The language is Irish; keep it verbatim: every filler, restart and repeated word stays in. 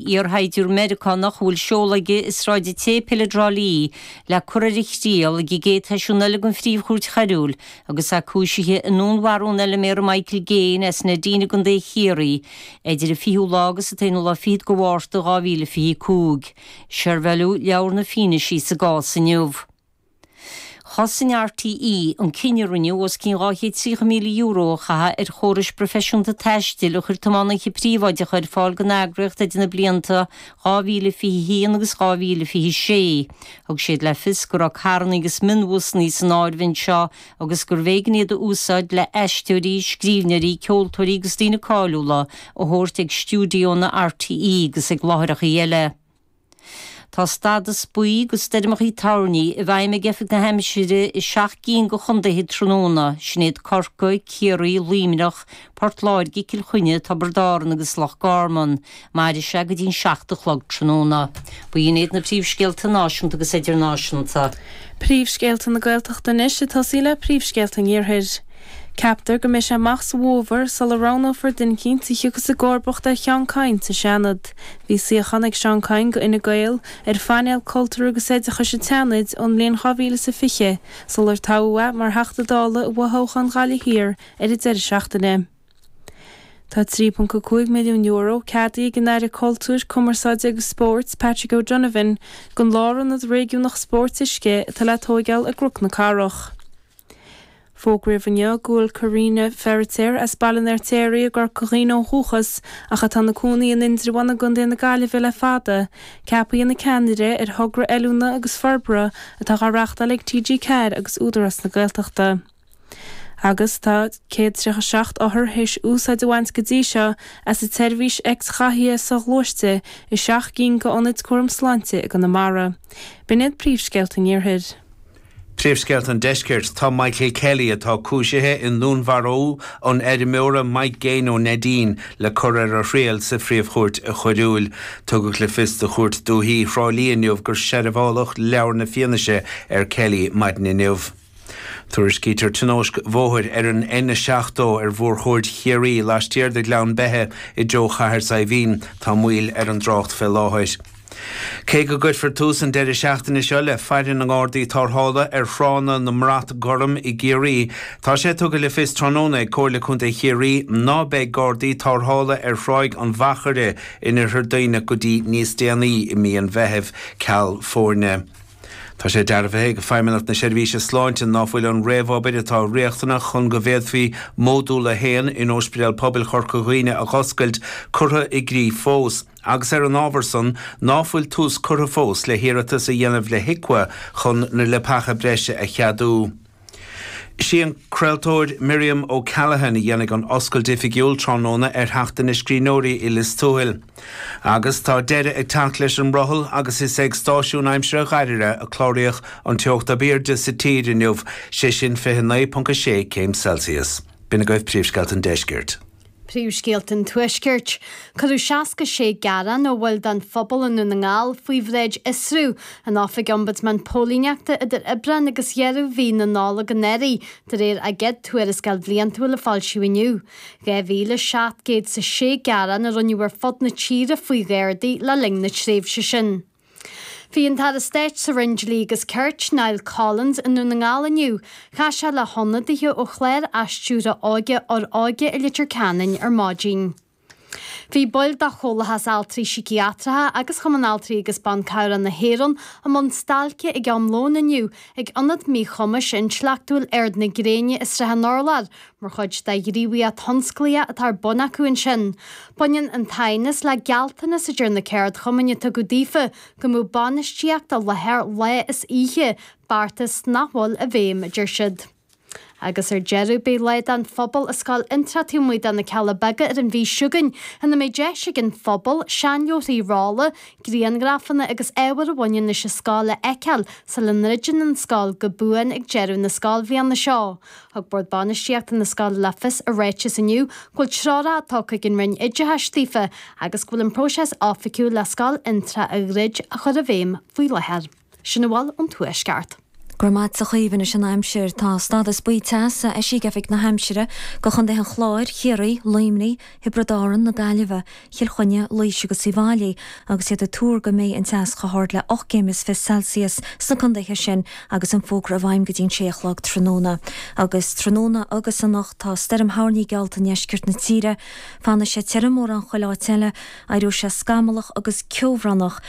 Iarshaighdiúir Meiriceánach a bhfuil seoladh aige i Sráid an tSéipéil i dTrá Lí le cur ar a thriail ag an gcéad sheisiún eile den Phríomh-Chúirt Choiriúil agus é cúisithe i ndúnmharú an fheilméara Michael Gaine as Neidín i gContae Chiarraí idir an fichiú lá agus an t-aonú lá fichead de Mhárta dhá mhíle fiche a cúig. Seirbheáladh leabhar na fianaise sa gcás inniu. Chosain RTÉ an cinneadh a rinneadh os cionn dhá chéad tríocha míle euro a chaitheamh ar chórais proifisiúnta taistil a chuir tiománaithe príobháideacha ar fáil don eagraíocht idir na blianta dhá mhíle fiche a haon agus dhá mhíle fiche sé. Thug siad le fios go raibh carranna agus mionbhusanna san áireamh anseo agus gurbh éigean iad a úsáid le aisteoirí, scríbhneoirí, ceoltóirí agus daoine cáiliúla a thabhairt ag stiúideonna RTÉ agus ag láithreacha eile. Tá stádas buí do stoirmeacha toirní i bhfeidhm ag Oifig na hAimsire i seacht gcinn de chontaetha tráthnóna, sin iad Corcaigh, Ciarraí, Luimneach, Port Láirge, Cill Chainnigh, Tiobraid Árann agus Loch Garman. Mairfidh sé go dtí an seacht a chlog tráthnóna. B'in iad na príomhscéalta náisiúnta agus idirnáisiúnta. Príomhscéalta na Gaeltachta anois ag tosaí le príomhscéalta an Iarthair. Ceaptar go mbeidh sé amach sa bhfómhar sula roghnófar duine eicínt a thiocfas i gcomharbacht ar Sheán Kyne sa Seanad. Bhí suíochán ag Seán Kyne go Fhine Gael ar phainéal Cultúir agus Oideachais an tSeanaid ón mbliain dhá mhíle is a fiche sular toghadh é mar Theachta Dála i bhfothoghchán Ghaillimh Thiar ar an deireadh seachtaine. Tá trí ponc a cúig milliún euro ceadaithe ag an Aire Cultúir, Cumarsáide agus Spóirt, Patrick O'Donovan, don Lárionad Réigiúnach Spóirt Uisce atá le tóigeáil i gCnoc na Cathrach. Fógraíodh inniu go bhfuil Karina Feiritéar as Baile an Fheirtéaraigh i gCorca Dhuibhne ó dhúchas ach atá ina cónaí in Indreabhán i gContae na Gaillimhe le fada, ceaptha ina ceannaire ar thogra oiliúna agus forbartha atá á reáchtáil ag T G ceathair agus Údarás na Gaeltachta. Agus tá céad tríocha seacht othar théis úsáid a bhaint go dtí seo as an tseirbhís X-ghathaithe soghluaiste i seacht gcinn d'ionaid cúram sláinte i gConamara. B'in iad príomhscéalta an Iarthair. Príomhscéalta an Deiscirt, Tá Michael Kelly, atá cúisithe i ndúnmharú an fheirmeora Mike Gaine ó Neidín, le cur ar a thriail sa Phríomh-Chúirt Choiriúil. Tugadh le fios do Chúirt Dúiche Thrá Lí inniu gur seirbheáladh leabhar na fianaise ar Kelly maidin inniu. Tuairiscítear tionóisc bhóthair ar an N a seachtó ar mhórchuaird Chiarraí laistiar de Ghleann Beithe i dtreo Chathair Saidhbhín. Tá moill ar an dtrácht fé láthair. Cé go gcuirfear tús an deireadh seachtaine seo le faire na nGardaí Tarrthála ar thránna na mBrat Gorm i gCiarraí, tá sé tugtha le fios tráthnóna ag Comhairle Contae Chiarraí ná beidh Gardaí Tarrthála ar Thráigh an Mhachaire in Oirthear Duibhneach go dtí níos déanaí i mí an Mheithimh, ceal foirne. Tá sé dearbhaithe ag Feidhmeannacht na Seirbhíse Sláinte ná fuil an réamhobair atá riachtanach chun go bhféadfaí Módúl a haon in Ospidéal Pobail Chorca Dhuibhne a dh'oscailt curtha i gcrích fós, agus ar an ábhar san ná fuil tús curtha fós le hiarratas a dhéanamh le HIQA chun na leapacha breise a cheadú. Sí an craoltóir Miriam O'Callaghan a dhéanfaidh an oscailt oifigiúil tráthnóna ar Sheachtain na Scríbhneoirí i Lios Tuathail. Agus tá deireadh ag teacht leis an mbrothall agus is ag stáisiún aimsire Ghairire a cláraíodh an teocht ab airde sa tír inniu, sé sin fiche naoi ponc a sé céim Celsius. B'in agaibh príomhscéalta an deiscirt. Príomhscéalta an Tuaiscirt. Cuireadh seasca sé gearán ó bhaill den phobal i nDún na nGall faoi bhráid Fhiosrú an Oifig Ombudsman Póilíneachta idir Aibreán agus dheireadh mhí na Nollag anuraidh, de réir a gcéad tuarascáil bhliantúil a foilsíodh inniu. Dhá mhíle seacht gcéad is a sé gearán a rinneadh ar fud na tíre faoi Ghardaí le linn na tréimhse sin. Bhí an tAire Stáit sa Roinn Dlí agus Cirt, Niall Collins, i nDún na nGall inniu. Chas sé le hionadaithe ó chlár athstiúrtha óige Fhoróige i Leitir Ceanainn ar maidin. Bhí baill de Chomhlachas Altraí Síciatracha agus Chumann Altraí agus Ban Cabhrach na hÉireann i mbun stailce ag am lóin inniu ag Ionad Míchumais Intleachtúil Ard na Gréine i Srath an Urláir mar chuid de ghníomhaíocht thionsclaíoch atá ar bun acu ansin. Baineann an t-aighneas le gealltanas a deir na ceardchumainn a tugadh daofa go mbeadh bainistíocht i láthair lá is oíche, beartas nach bhfuil i bhfeidhm, a deir siad. Agus ar deireadh, beidh Lá don Phobal i Scoil Fhiontraí taobh amuigh de na Cealla Beaga ar an mhí seo chugainn, ina mbeidh deis ag an phobal seanleabharthaí rolla, grianghrafanna agus ábhair a bhaineann leis an scoil a fheiceáil sula ndruideann an scoil go buan ag deireadh na scoilbhliana seo. Thug Bord Bainistíochta na scoile le fios i ráiteas inniu go bhfuil treoracha tugtha ag an Roinn Oideachais daofa agus go bhfuil an próiseas oifigiúil le Scoil Fhionntrá a dhruid á chur i bhfeidhm faoi láthair. Sin a bhfuil ón Tuaisceart. Go raibh maith agat a Chaoimhe. Anois an aimsir. Tá stádas buí teasa eisithe ag Oifig na hAimsire do Chontaetha an Chláir, Chiarraí, Luimnigh, Thiobraid Árann, na Gaillimhe, Chill Chainnigh, Laois agus Uíbh Fhailí agus iad ag tuar go mbeidh an teas chomh hard le ocht gcéim is fiche Celsius sna contaetha sin agus an fógra i bhfeidhm go dtí an sé a chlog tráthnóna. Agus tráthnóna agus anocht tá stoirm thoirní geallta i ndeisceart na tíre. Fanfaidh sé tirim mórán chuile áit eile, éireoidh sé scamallach agus ceobhránach.